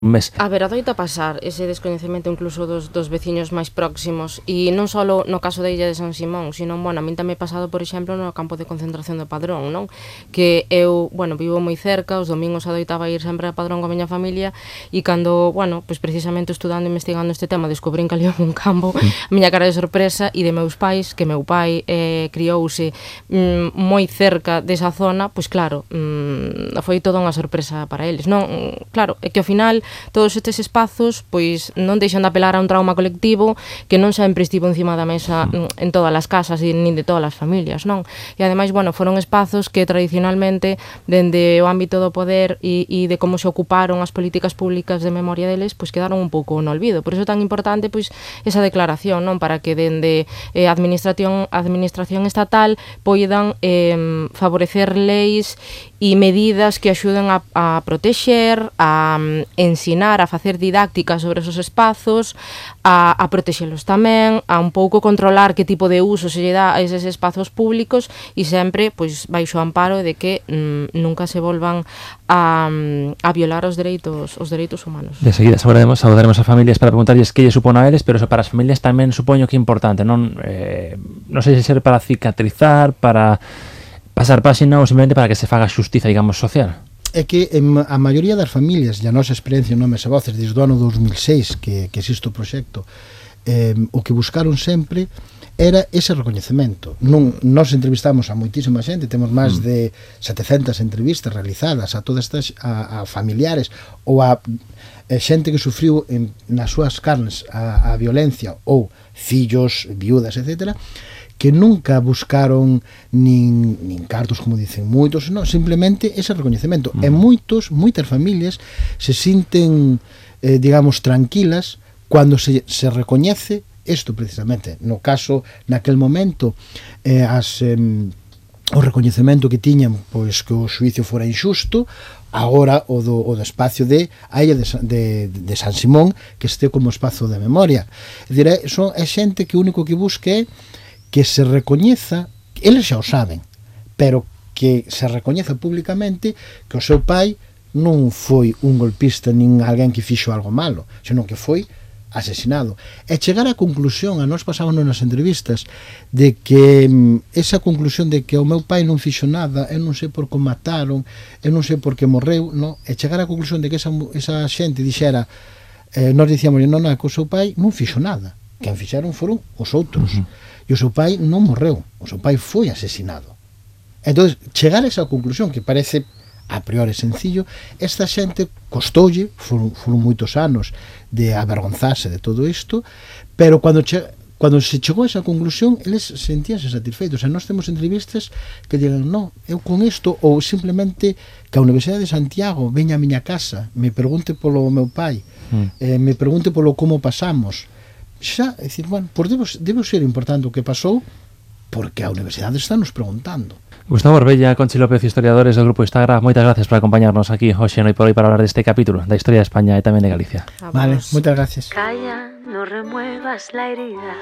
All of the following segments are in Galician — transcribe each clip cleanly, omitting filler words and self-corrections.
mes. A ver, adoita pasar ese descoñecemento incluso dos veciños máis próximos, e non só no caso da Illa de San Simón, sino, bueno, a min tamén pasado, por exemplo, no campo de concentración do Padrón, non? Que eu, bueno, vivo moi cerca, os domingos adoitaba ir sempre a Padrón coa miña familia, e cando, bueno, pois precisamente estudando e investigando este tema, descubrín que ali houve un campo, a miña cara de sorpresa, e de meus pais, que meu pai criouse moi cerca desa zona, pois claro, foi toda unha sorpresa para eles, non? Claro, é que ao final todos estes espazos pois non deixan de apelar a un trauma colectivo que non sempre estivo encima da mesa en todas as casas e nin de todas as familias, non? E ademais, bueno, foron espazos que tradicionalmente dende o ámbito do poder e de como se ocuparon as políticas públicas de memoria deles, pois quedaron un pouco no olvido. Por iso é tan importante pois esa declaración, non? Para que dende a administración estatal poidan favorecer leis e medidas que axuden a protexer, a ensinar, a facer didácticas sobre esos espazos, a protexelos tamén, a un pouco controlar que tipo de uso se lle dá a eses espazos públicos e sempre pois baixo o amparo de que nunca se volvan a violar os dereitos humanos. De seguida saudaremos a familias para preguntarlles que lle supón a eles, pero eso para as familias tamén supoño que é importante, non sei se ser para cicatrizar, para pasar páxina ou simplemente para que se faga xustiza, digamos, social. É que a maioría das familias, e a nosa experiencia en Nomes e Voces desde o ano 2006 que existe o proxecto, o que buscaron sempre era ese recoñecemento. Nos entrevistamos a moitísima xente, temos máis de 700 entrevistas realizadas a todas estas a familiares ou a xente que sufriu nas súas carnes a violencia ou fillos, viudas, etcétera, que nunca buscaron nin cartos, como dicen moitos, non, simplemente ese recoñecemento. E moitas familias se sinten, digamos, tranquilas cando se recoñece isto precisamente. No caso, naquel momento, o recoñecemento que tiñan, pois que o xuicio fora injusto, agora o do espacio de a Illa de San Simón, que este como espazo de memoria. É dicir, é xente que o único que busca é que se recoñeza, eles xa o saben, pero que se recoñeza públicamente que o seu pai non foi un golpista nin alguén que fixo algo malo, senón que foi asesinado. E chegar á conclusión, a nós pasámonos nas entrevistas, de que esa conclusión de que o meu pai non fixo nada, eu non sei por que o mataron, eu non sei por que morreu, non? E chegar á conclusión de que esa xente dixera, nós dicíamos, non, que o seu pai non fixo nada, quen fixeron foron os outros. E o seu pai non morreu, o seu pai foi asesinado. Entón, chegar a esa conclusión, que parece a priori sencillo, esta xente costoulle, foron moitos anos de avergonzarse de todo isto, pero cando se chegou a esa conclusión, eles sentíanse satisfeitos. E nós temos entrevistas que digan, non, eu con isto, ou simplemente que a Universidade de Santiago veña a miña casa, me pregunte polo meu pai, me pregunte polo como pasamos. Xa, é dicir, bueno, pois debe ser importante o que pasou, porque a Universidade está nos preguntando. Gustavo Orbella, Conchi López, historiadores do Grupo Instagram, moitas gracias por acompañarnos aquí hoxe Noi por Hoy para hablar deste capítulo da historia de España e tamén de Galicia. Vale, moitas gracias. Calla, no remuevas la herida,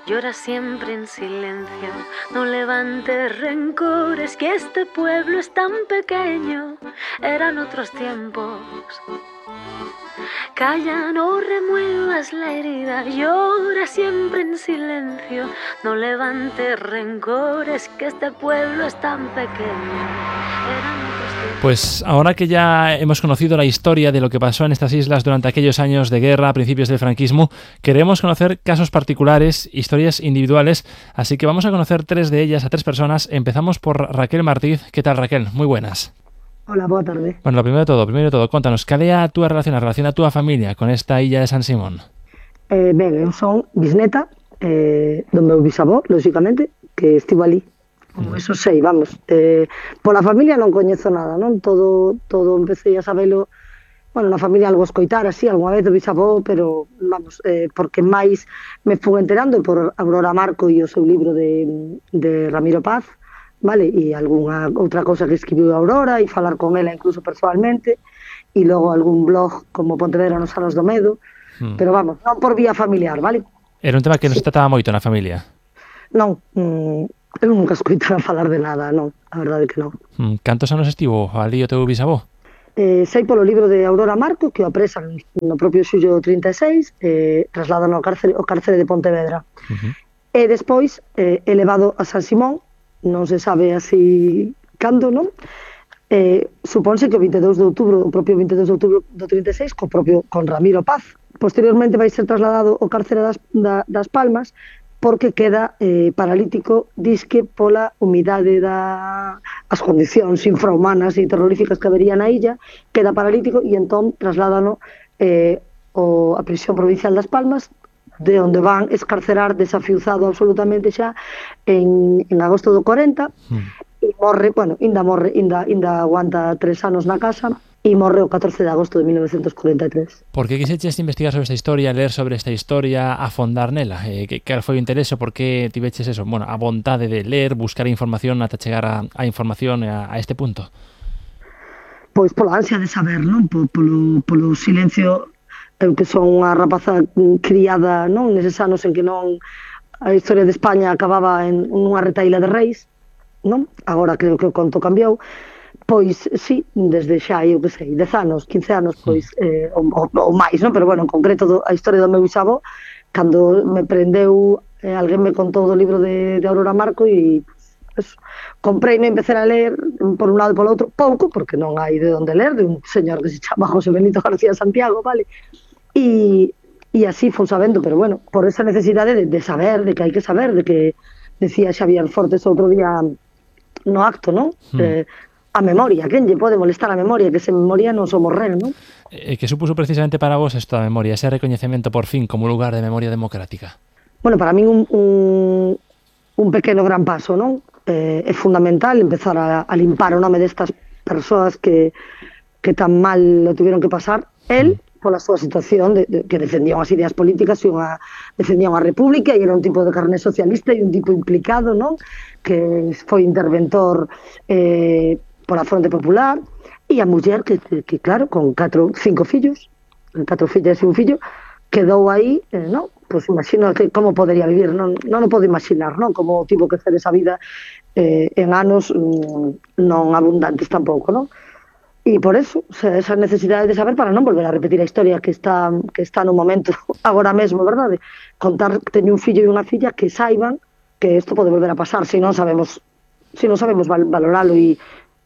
llora siempre en silencio, no levantes rencores, que este pueblo es tan pequeño, eran otros tiempos. Calla, no remuevas la herida, llora siempre en silencio, no levantes rencores, que este pueblo es tan pequeño. Pues ahora que ya hemos conocido la historia de lo que pasó en estas islas durante aquellos años de guerra a principios del franquismo, queremos conocer casos particulares, historias individuales, así que vamos a conocer 3 de ellas a 3 personas. Empezamos por Raquel Martíz. ¿Qué tal, Raquel? Muy buenas. Hola, boa tarde. Bueno, lo primero de todo, contanos, cal é a túa relación a túa familia con esta Illa de San Simón? Ben, eu son bisneta do meu bisavó, lógicamente, que estivo ali. Como eso sei, vamos. Pola familia non coñezo nada, non? Todo empecé a sabelo, bueno, na familia algo escoitar así, algunha vez do bisavó, pero, vamos, porque máis me fui enterando por Aurora Marco e o seu libro de Ramiro Paz, vale, e algunha outra cousa que escribiu Aurora e falar con ela incluso persoalmente e logo algún blog como Pontevedra nos anos do medo, pero vamos, non por vía familiar, vale? Era un tema que non se trataba moito na familia? Non, eu nunca escoitara falar de nada, non, a verdade que non. Cantos anos estivo ali o teu bisavó? sei polo libro de Aurora Marco, que o apresan no propio xullo 36, trasladan ao cárcere de Pontevedra. E despois é levado a San Simón, non se sabe así cando, non? Supónse que o 22 de outubro, o propio 22 de outubro do 36, con Ramiro Paz. Posteriormente vai ser trasladado ao cárcere das Palmas, porque queda paralítico, disque pola humidade as condicións infrahumanas e terroríficas que habería na illa, queda paralítico e entón trasládano a prisión provincial das Palmas, de onde van escarcerar desafiuzado absolutamente xa en agosto do 40, e morre, ainda aguanta 3 anos na casa, e morre o 14 de agosto de 1943. Por que quixeches investigar sobre esta historia, ler sobre esta historia, afondar nela? Cal foi o interese? Por que tiveches eso? Bueno, a vontade de ler, buscar información ata chegar a información a este punto? Pois pola ansia de saber, non? Polo silencio, eu que son unha rapaza criada, non? Neses anos en que non a historia de España acababa en unha retaíla de reis, non? Agora creo que o conto cambiou. Pois, sí, desde xa, eu que sei, 10 anos, 15 anos, pois, ou máis, non? Pero, bueno, en concreto, a historia do meu bisavó, cando me prendeu, alguén me contou do libro de Aurora Marco e, pues, comprei e empecé a ler por un lado e polo outro, pouco, porque non hai de onde ler, de un señor que se chama José Benito García Santiago, vale? E así fui sabendo, pero, bueno, por esa necesidade de saber, de que hai que saber, de que decía Xavier Fortes outro día no acto, non? A memoria, quen lle pode molestar a memoria, que sen memoria non somos ren, non? Que supuso precisamente para vos isto da memoria, ese recoñecemento por fin como lugar de memoria democrática? Bueno, para min un pequeno gran paso, non? É fundamental empezar a limpar o nome destas persoas que tan mal lo tuvieron que pasar. El, pola súa situación, que defendía unhas ideas políticas e defendía unha república e era un tipo de carné socialista e un tipo implicado, non? Que foi interventor pola Fronte Popular, e a muller que claro, con 5 fillos, 4 fillas e un fillo, quedou aí, non? Pois imagino que como podería vivir, non o podo imaginar, non? Como tivo que ser esa vida en anos non abundantes tampouco, non? E por eso, esa necesidade de saber para non volver a repetir a historia que está no momento agora mesmo, verdade? Contar que teño un fillo e unha filla que saiban que isto pode volver a pasar, se non sabemos valoralo e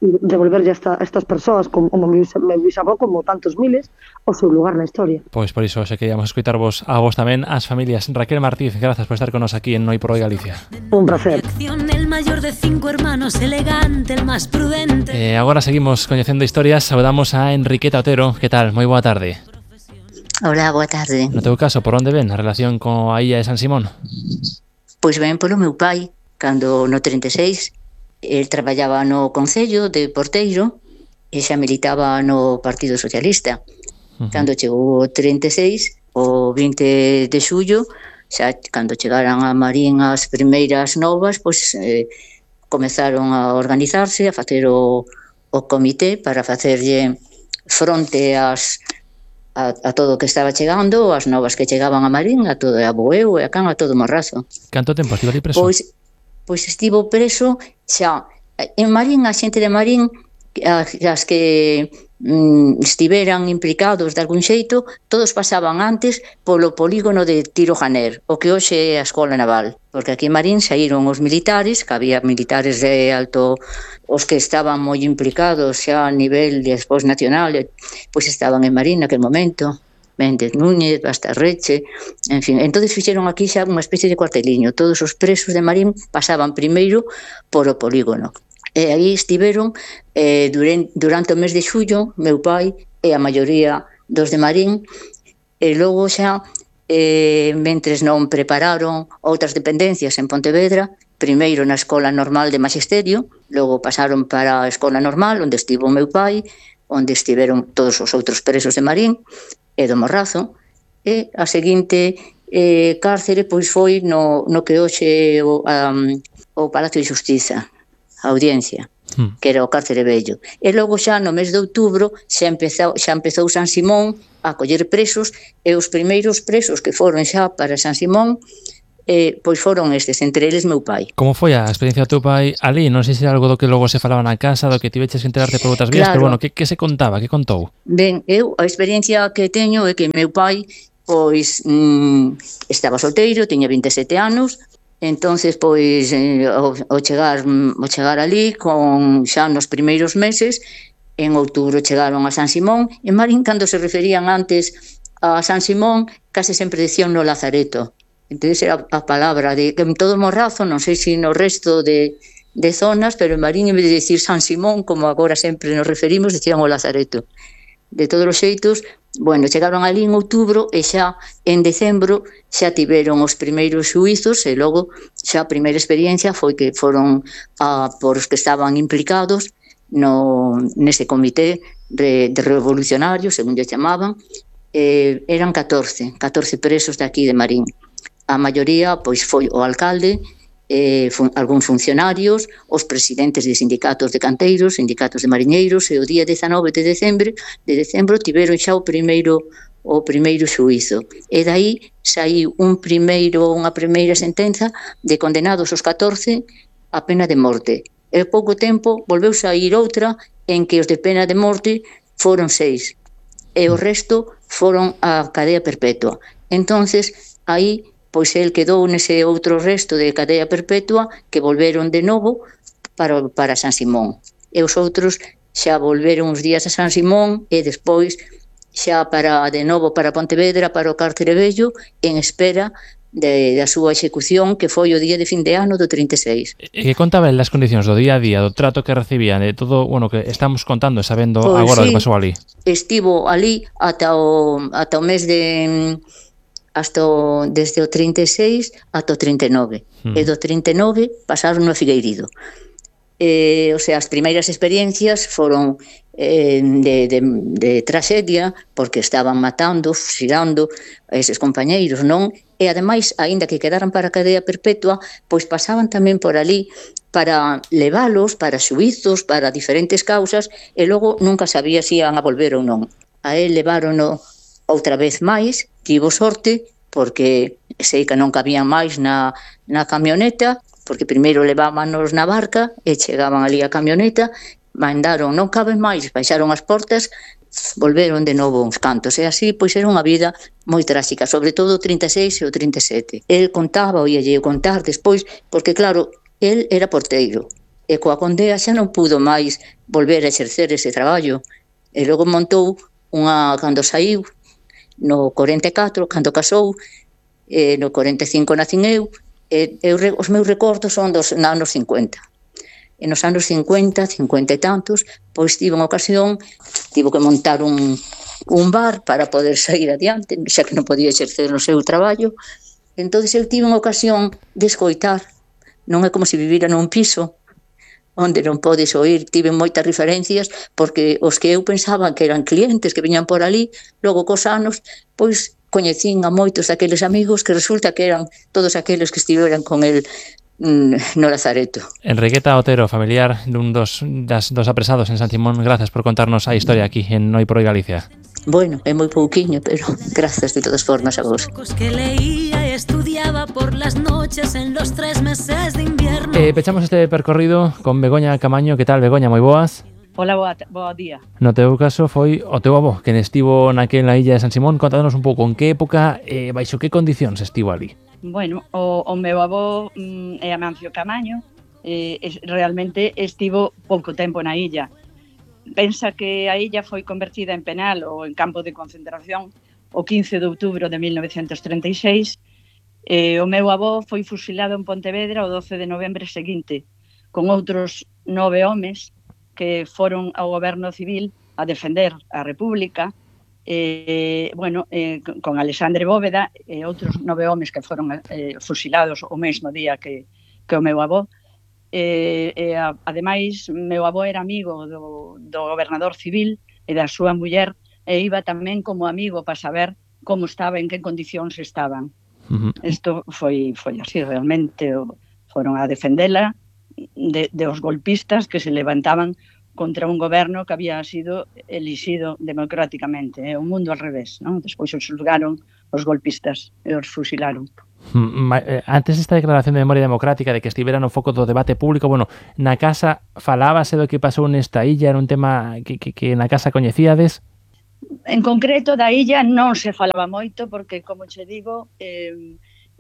devolverlle a estas persoas como meu bisavó, como tantos miles, o seu lugar na historia. Pois por iso se queríamos escoitarvos a vos tamén, as familias. Raquel Martíz, grazas por estar con nos aquí en Noi por Hoy Galicia. Un placer. El mayor de 5 hermanos, elegante, el más prudente. Agora seguimos coñecendo historias, saudamos a Enriqueta Otero. Que tal? Moi boa tarde. Hola, boa tarde. No teu caso, por onde ven a relación coa illa de San Simón? Pois ven polo meu pai, cando no 36 el traballaba no Concello de Porteiro e xa militaba no Partido Socialista. Cando chegou o 36, o 20 de xullo, xa cando chegaran a Marín as primeiras novas, pois comezaron a organizarse, a facer o comité para facerlle fronte a todo o que estaba chegando, as novas que chegaban a Marín, a todo a Boeu e a Can, a todo o Morrazo. Canto tempo estivo ali preso? Pois estivo preso xa en Marín, a xente de Marín, as que estiveran implicados de algún xeito, todos pasaban antes polo polígono de Tiro Janer, o que hoxe é a Escola Naval, porque aquí en Marín saíron os militares, que había militares de alto, os que estaban moi implicados xa a nivel despois nacional, pois estaban en Marín naquel momento. Méndez Núñez, Bastarreche, en fin. Entón fixeron aquí xa unha especie de cuarteliño. Todos os presos de Marín pasaban primeiro por o polígono. E aí estiveron durante o mes de xullo, meu pai e a maioría dos de Marín, e logo xa, mentres non prepararon outras dependencias en Pontevedra, primeiro na Escola Normal de Magisterio, logo pasaron para a Escola Normal, onde estivo o meu pai, onde estiveron todos os outros presos de Marín, e do Morrazo, e a seguinte cárcere pois foi no que hoxe o Palacio de Xustiza, a Audiencia, que era o cárcere vello. E logo xa no mes de outubro xa empezou San Simón a coller presos, e os primeiros presos que foron xa para San Simón pois foron estes, entre eles meu pai. Como foi a experiencia do teu pai ali? Non sei se era algo do que logo se falaba na casa, do que tiveches que enterarte por outras vías, Claro. pero bueno, que se contaba, que contou? Ben, eu a experiencia que teño é que meu pai pois estaba solteiro, tiña 27 anos, entonces pois ao chegar ali con xa nos primeiros meses, en outubro chegaron a San Simón, e Marín cando se referían antes a San Simón, case sempre decían no Lazareto. Entón era a palabra de que en todo Morrazo, non sei se no resto de zonas, pero en Marín, en vez de decir San Simón, como agora sempre nos referimos, decían o Lazareto. De todos os xeitos, bueno, chegaron ali en outubro e xa en decembro xa tiveron os primeiros xuizos e logo xa a primeira experiencia foi que foron por os que estaban implicados nese comité de revolucionarios, según lle chamaban, eran 14 presos de aquí de Marín. A maioría pois foi o alcalde, algúns funcionarios, os presidentes de sindicatos de canteiros, sindicatos de mariñeiros, e o día 19 de decembro tiveron xa o primeiro xuízo. E daí saiu unha primeira sentenza de condenados os 14 a pena de morte. E pouco tempo volveu sair outra en que os de pena de morte foron 6 e o resto foron a cadea perpetua. Entonces, aí, pois el quedou nese outro resto de cadea perpetua que volveron de novo para San Simón. E os outros xa volveron uns días a San Simón e despois xa de novo para Pontevedra, para o Cárcere Vello, en espera da súa execución, que foi o día de fin de ano do 36. E que contaban as condicións do día a día, do trato que recibían, de todo, bueno, que estamos contando, sabendo Pois agora o sí, que pasou ali? Estivo ali ata o mes de... desde o 36 ata o 39. E do 39 pasaron no Figueirido. O sea, as primeiras experiencias foron de tragedia, porque estaban matando, fusilando a eses compañeiros, non? E ademais, aínda que quedaran para a cadea perpetua, pois pasaban tamén por ali para leválos, para xuízos, para diferentes causas, e logo nunca sabía se iban a volver ou non. A él levárono outra vez máis, tivo sorte, porque sei que non cabían máis na camioneta, porque primeiro levábanos na barca e chegaban ali a camioneta, mandaron, non caben máis, baixaron as portas, volveron de novo uns cantos, e así pois era unha vida moi tráxica, sobre todo o 36 e o 37. El contaba, oíalle contar despois, porque claro, el era porteiro, e coa condea xa non pudo máis volver a exercer ese traballo, e logo montou cando saiu, no 44, cando casou, no 45 nacín eu, os meus recordos son dos anos 50. E nos anos 50 e tantos, pois tivo unha ocasión, tivo que montar un bar para poder sair adiante, xa que non podía exercer no seu traballo. Entón, eu tive unha ocasión de escoitar, non é como se vivira nun piso, onde non podes oír, tive moitas referencias, porque os que eu pensaba que eran clientes que viñan por ali, logo cos anos, pois coñecín a moitos daqueles amigos que resulta que eran todos aqueles que estiveran con el no Lazareto. Enriqueta Otero, familiar dun dos apresados en San Simón, grazas por contarnos a historia aquí en Noi por Hoy Galicia. Bueno, é moi pouquiño, pero grazas de todas formas a vos. Que leía y estudiaba por las noches en los 3 meses de invierno. Pechamos este percorrido con Begoña Camaño. Que tal, Begoña? Moi boas. Hola, bo día. No teu caso foi o teu avó quen estivo naquela illa de San Simón. Contanos un pouco en que época e baixo que condicións estivo ali. Bueno, o meu avó é Amancio Camaño, realmente estivo pouco tempo na illa. Pensa que a illa foi convertida en penal ou en campo de concentración o 15 de outubro de 1936. O meu avó foi fusilado en Pontevedra o 12 de novembro seguinte, con outros 9 homes que foron ao goberno civil a defender a República, con Alexandre Bóveda e outros 9 homes que foron fusilados o mesmo día que o meu avó. Ademais, meu avó era amigo do gobernador civil e da súa muller, e iba tamén como amigo para saber como estaba, en que condicións estaban. Isto foi así, realmente foron a defendela de os golpistas que se levantaban contra un goberno que había sido elixido democráticamente, o mundo al revés, non? Despois os xulgaron os golpistas e os fusilaron. Antes desta declaración de memoria democrática de que estivera no foco do debate público, bueno, na casa falábase do que pasou nesta illa, era un tema que na casa coñecíades? En concreto da illa non se falaba moito porque, como che digo,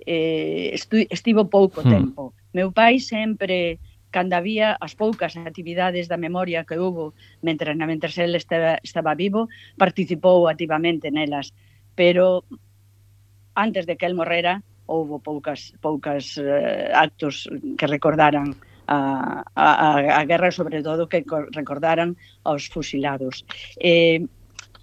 estivo pouco tempo. Meu pai sempre, cando había as poucas actividades da memoria que hubo mentres el estaba vivo, participou activamente nelas, pero antes de que el morrera houve poucas actos que recordaran a guerra, sobre todo que recordaran aos fusilados.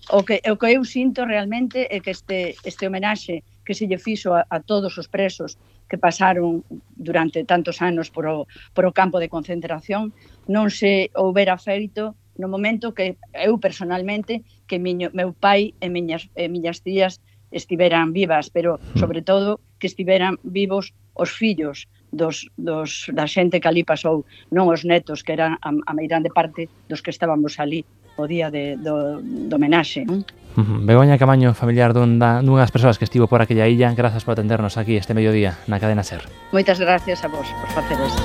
O que eu sinto realmente é que este homenaxe que se lle fixo a todos os presos que pasaron durante tantos anos por o campo de concentración non se houbera feito no momento que eu personalmente, que meu pai e miñas tías estiveran vivas, pero sobre todo que estiveran vivos os fillos da xente que ali pasou, non os netos, que eran a meirande parte dos que estábamos ali o día do homenaxe. Begoña Camaño, familiar dunhas persoas que estivo por aquella illa, grazas por atendernos aquí este mediodía na Cadena SER. Moitas gracias a vos por facer isto.